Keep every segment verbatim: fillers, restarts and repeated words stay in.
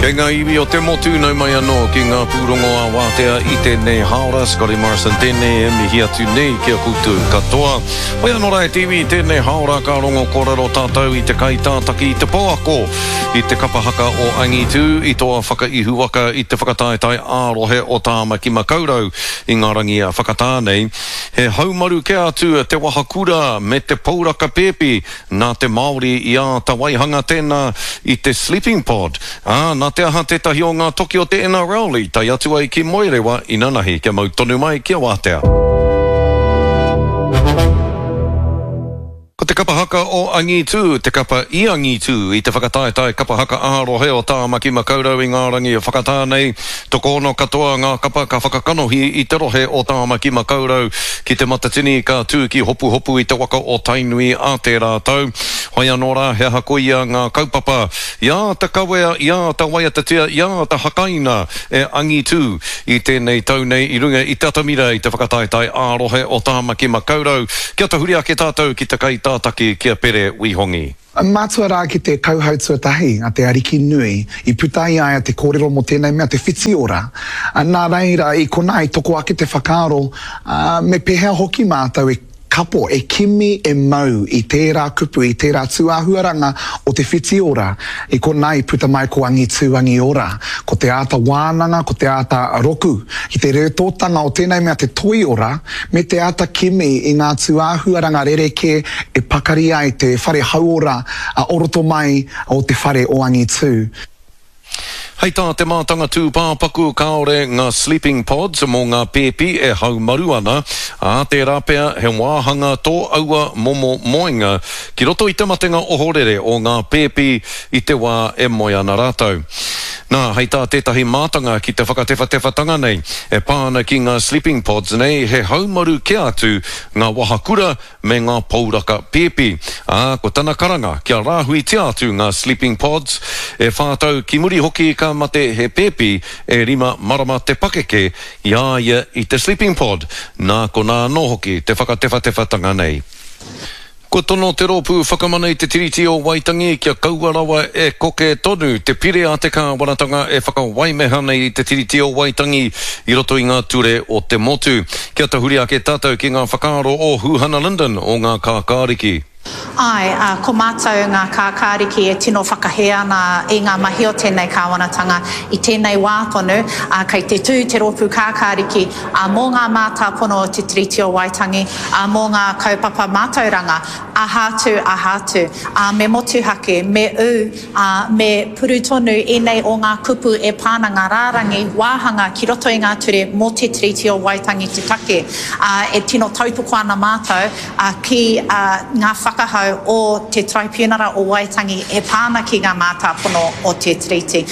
Kei ngā iwi o te motu nau mai anō ki ngā pūrongo a wātea i tēnei hāora. Scotty Morrison tēnei e mihi atu nei ki a koutou katoa. Hoi anō rā e te iwi i tēnei hāora ka rongo kōrero tātou i te kaitātaki i te pouako i te kapa haka o Angitū i toa whakaihuwaka i te whakataetae ā-rohe o Tāmaki Makaurau i ngā rangi whakatā nei. He haumaru kē atu te wahakura me te pouraka pēpi nā te Māori i āta waihanga tēnā i te sleeping pod. Ā, nā te aha tētahi o ngā toki o te N R L i tae atu ai ki Moerewa inanahi kia mau tonu mai kia wātea. Ko te kapa haka o Angitū, te kapa i Angitū, i te whakataetae kapa haka ā-rohe o Tāmaki Makaurau i ngā rangi whakatā nei. Tokoono katoa ngā kapa ka whakakanohi i te rohe o Tāmaki Makaurau ki te Matatini ka tū ki Hopuhopu i te waka o Tainui a tērā tau. Hoi anō rā, he aha koia ngā kaupapa i āta kawea, i āta waiatatia, i āta hakaina e Angitū i tēnei tau nei i runga i te atamira i te whakataetae ā-rohe o Tāmaki Makaurau. Kia tahuri ake tātou ki te kaitātaki ki a Pere Wihongi. Mātua rā ki te kauhau tuatahi a te Ariki Nui, i puta i a ia te kōrero mō tēnei mea te whitiora. Nā reira, i konā i toko ake te whakaaro, me pēhea hoki mātou e kapo, e kimi, e mau i tērā kupu, i tērā tūāhuaranga o te whitiora. I konā i puta mai ko Angitū Angiora, ko te āta wānanga, ko te āta roku, ki te rētōtanga o tēnei mea te toiora, me te āta kimi i ngā tūāhuaranga rerekē e pakari ai te whare hauora o roto mai o te whare o Angitū. Hei tā te mātanga tūpāpaku kāore ngā sleeping pods mō ngā pēpi e haumaru ana, ā tērā pea he wāhanga tō aua momo moenga ki roto i te matenga ohorere o ngā pēpi i te wā e moe ana rātou. Nā, hei tā tētahi mātanga ki te whakatewhatewhatanga nei, e pā ana ki ngā sleeping pods nei, he haumaru kē atu ngā wahakura me ngā pouraka pēpi. Ā, ko tana karanga kia rāhuitia atu ngā sleeping pods, e whātau ki muri hoki ka mate he pēpi e rima marama te pakeke i a ia i te sleeping pod. Nā konā anō hoki te whakatewhatewhatanga nei. Kua tono te rōpū whakamana i te Tiriti o Waitangi kia kaua rawa e koke tonu te pire a te kāwanatanga e whakawaimeha nei i te Tiriti o Waitangi i roto i ngā ture o te motu. Kia tahuri ake tātou ki ngā whakaaro o Huhana Lyndon o ngā Kākāriki. Ai, uh, ko mātou ngā kākāriki e tino whakahē ana i ngā mahi o tēnei kāwanatanga i tēnei wā tonu, uh, kei te tū te rōpū kākāriki uh, mō ngā mātāpono o te Tiriti o Waitangi, uh, mō ngā kaupapa mātauranga, aha atu, aha atu, uh, me motuhake, me ū, uh, me puru tonu ēnei o ngā kupu e pāna ngā rārangi wāhanga ki roto i ngā ture mō te Tiriti o Waitangi te take. Uh, e tino tautoko ana mātou uh, ki uh, ngā whakahau o te Tribunara o Waitangi e pāna ki ngā mātāpono o te Tiriti.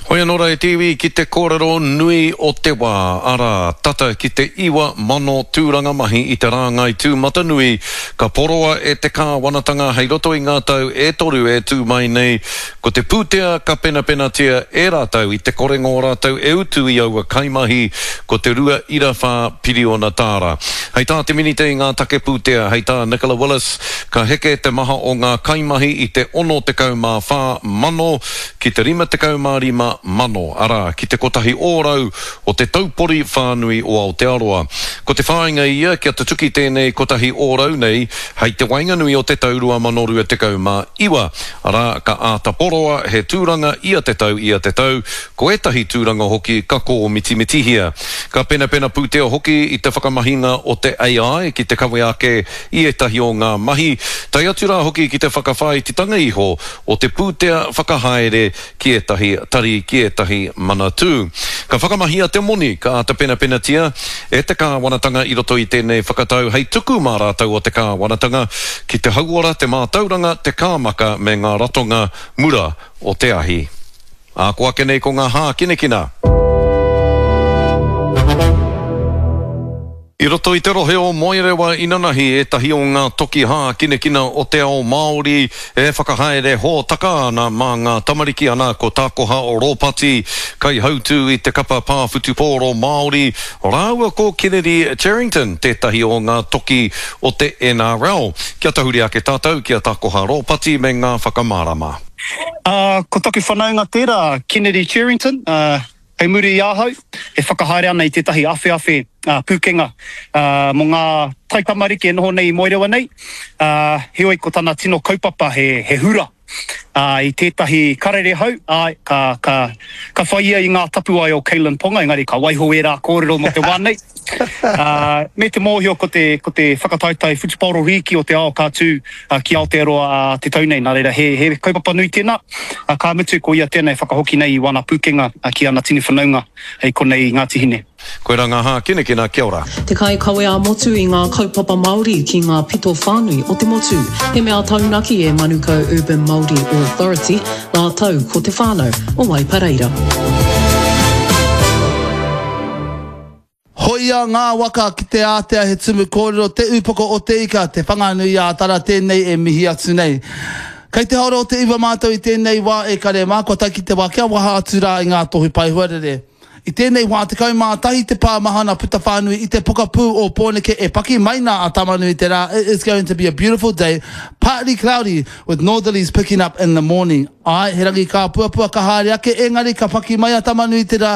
Hoi anō rā e te iwi ki te kōrero nui o te wā, arā, tata ki te iwa mano tūranga mahi i te rāngai tūmatanui ka poroa e te kāwanatanga hei roto i ngā tau e toru e tū mai nei, ko te pūtea ka penapenatia e rātou i te korenga o rātou e utu i aua kaimahi, ko te rua ira whā piriona tāra. Hei tā te minita i ngā take pūtea, hei tā Nicola Willis, ka heke te maha o ngā kaimahi i te ono tekau mā whā mano ki te rima tekau mā rima mano, arā, ki te kotahi ōrau o te taupori whānui o Aotearoa. Ko te whāinga ia kia tutuki tēnei kotahi ōrau nei hei te waenganui o te tau rua mano rua tekau mā iwa. Arā, ka āta poroa he tūranga ia te tau ia te tau, ko ētahi tūranga hoki ka kōmitimitihia. Ka penapena pūtea hoki i te whakamahinga o te A I ki te kawe ake i ētahi o ngā mahi, tae atu rā hoki ki te whakawhāititanga iho o te pūtea whakahaere ki ētahi tari ki ētahi manatū. Ka whakamahia te moni ka āta penapenatia e te kāwanatanga i roto i tēnei whakatau hei tuku mā rātou o te kāwanatanga ki te hauora, te mātauranga, te kāmaka me ngā ratonga mura o te ahi. Ā, ko ake nei ko ngā hākinakina. I roto i te rohe o Moerewa inanahi ētahi o ngā toki hākinakina o te ao Māori e whakahaere hōtaka ana mā ngā tamariki ana ko Tākoha o Rōpati, kaihautū i te kapa pāwhutupōro Māori, rāua ko Kennedy Cherrington, tētahi o ngā toki o te N R L. Kia tahuri ake tātou ki a Tākoha Rōpati me ngā whakamārama. Uh, ko taku whanaunga tērā, Kennedy Cherrington, uh, kei muri i ahau, e whakahaere ana i tētahi awheawhe uh, pūkenga uh, mō ngā taitamariki e noho nei i Moerewa nei. Uh, heoi ko tana tino kaupapa he, he hura uh, i tētahi karere hou, āe, ka, ka, ka whai ia i ngā tapuwae o Kalyn Ponga, engari ka waiho ērā kōrero mō te wā nei. Uh, me te mōhio ko te, ko te whakataetae whutupaoro rīki o te ao ka tū uh, ki Aotearoa uh, te tau nei. Nā reira, he, he kaupapa nui tēnā. Uh, ka mutu ko ia tēnā e whakahoki nei i wana pūkenga uh, ki ana tini whanaunga i konei i Ngāti Hine. Koirā ngā hākinakina, kia ora. Te kaikawe ā-motu i ngā kaupapa Māori ki ngā pito whānui o te motu. He mea taunaki e Manukau Urban Māori Authority, rātou ko te whānau o Waipareira. Hoia ngā waka ki te ātea he tumu kōrero te upoko o te ika, te Whanganui-ā-Tara tēnei e mihi atu nei. Kei te haora o te iwa mātou i tēnei wā e kare mā, kua tae ki te wā kia waha atu rā i ngā tohu pae huarere. I tēnei wā tekau mā tahi te pā mahana puta whānui i te pokapū o Pōneke e paki mai nā a Tama-nui-te-rā, it is going to be a beautiful day, partly cloudy with northerlies picking up in the morning. Āe, he rangi kāpuapua ka haere ake engari ka paki mai a Tama-nui-te-rā.